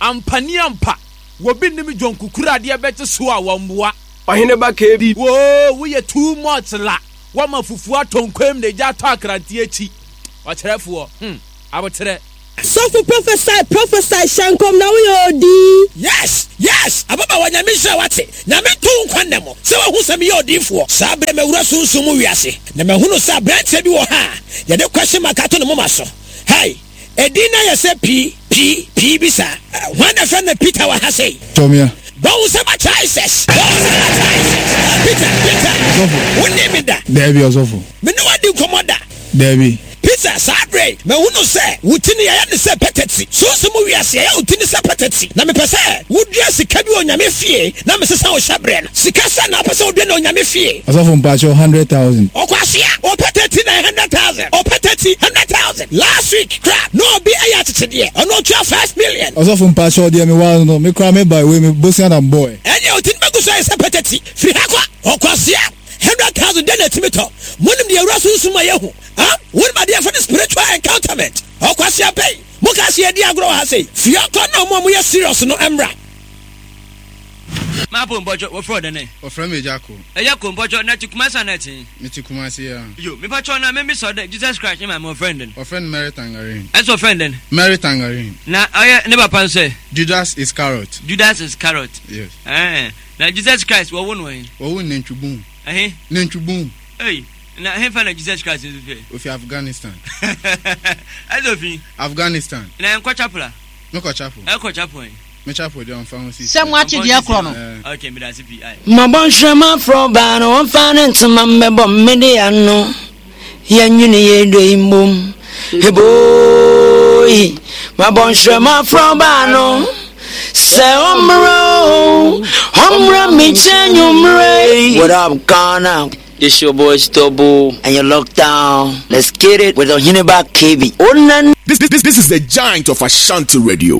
Ampaniampa, wobi nnim dwonkukuru adeɛ bɛgye so a wɔmmoa. Ɔhene ba KB. Woo woyɛ too much la wama fufuo atɔ nkwam na egya atɔ akranteɛ akyi ɔkyerɛfoɔ hmm aboterɛ. Sɔfo prophesy prophesy hyɛ nkɔm na woyɛ odii. Yes yes ababaawa Nyame nhyira wo ate Nyame nto wo nkwa nna mu sɛ wahu sɛ meyɛ odiyifoɔ saa berɛ mawura sunsum mu wiase na mahunu sɛ abranteɛ bi wɔ ha a yɛde question mark ato ne moma so hey Edin no ayɛ sɛ P, P, P bi saa. Hwan na ɛfrɛ no Peter wɔ ha sei? Tɔmia. Bɔ wo nsam akyerɛ Jesus. Bɔ wo nsam akyerɛ Jesus. Peter, Peter. Ɔsɔfo. Wo ne me da. Daabi, ɔsɔfo. Me ne wo adi nkɔmmɔ da. Daabi. Peter, saa berɛ yi, mahunu sɛ wo ti no yɛayɛ no sɛ pɛtɛti. Sunsum mu wiase, yɛayɛ wo ti no sɛ pɛtɛti. Na mepɛ sɛ wodua sika bi wɔ Onyame fie na mesesa wo hyɛberɛ no. Sika sɛn na wopɛ sɛ wodua no Onyame fie? Ɔsɔfo mpakyɛw 100,000. Ɔkwasea, ɔpɛ 39 100,000, ɔpɛ 30 100,000. Last week kora na obi ayɛ akyekyedeɛ, ɔno ɔtua 5 million. Ɔsɔfo mpakyɛw deɛ me waa no me koraa me bae wei me bosea na mbɔɛ. Ɛneɛ wo ti no bɛgu so ayɛ sɛ pɛtɛti. Firi ha kɔ, ɔkwasea. 100,000 dɛn na ɛtumi tɔ? Monim deɛ awura sunsum ma yɛhu? Ah, wonim adeɛ yɛfrɛ no spiritual encounterment? Ɔkwasea bɛn? Moka sɛ yɛdi agorɔ wɔ ha sei. Firi ha kɔ na ɔmo a moyɛ serious no mmra. Mapo mpɔkyɛ wɔfrɛ wo dɛn ɛ? Wɔfrɛ me Agya Ko. Agya Ko mpɔkyɛ na ɛte Kumasi anaa ɛte he? Mete Kumasi aa. Yo, mepakyɛw na memmisa wo dɛ Jesus Christ ne maame wɔfrɛ no dɛn? Wɔfrɛ no Mary Tangerine. Ɛse wɔfrɛ no dɛn? Mary Tangerine. Na ɔyɛ ne papa nso ɛ? Judas Iscariot. Judas Iscariot. Yes. Ɛɛ, na Jesus Christ wɔwo no he? Wɔwo no Nantwibun. Ɛhe? Nantwibun. Ei, na hefa na Jesus Christ nso fi ɛ? Ofi Afghanistan. Ɛse ofi? Afghanistan. Na ɛnkɔ chapel a? Mekɔ chapel. Ɛkɔ chapel he? Me chapel deɛ ɔmfa ho sisi. Sɛ moate deɛ korɔ no. Okay, meda ase pii. Aye. Mabɔ nhwerɛma frɛ ɔbaa no ɔmfa ne ntoma mmɛbɔ mmede ano yɛnwene yɛn dɔ yi mbom eboi mabɔ nhwerɛma frɛ ɔbaa no sɛ ɔmmra o ɔmmra me nkyɛn nwummerɛ What up Ghana This your boy Stubble and you're locked down Let's get it with Oheneba KB. This, this, this is the giant of Ashanti Radio.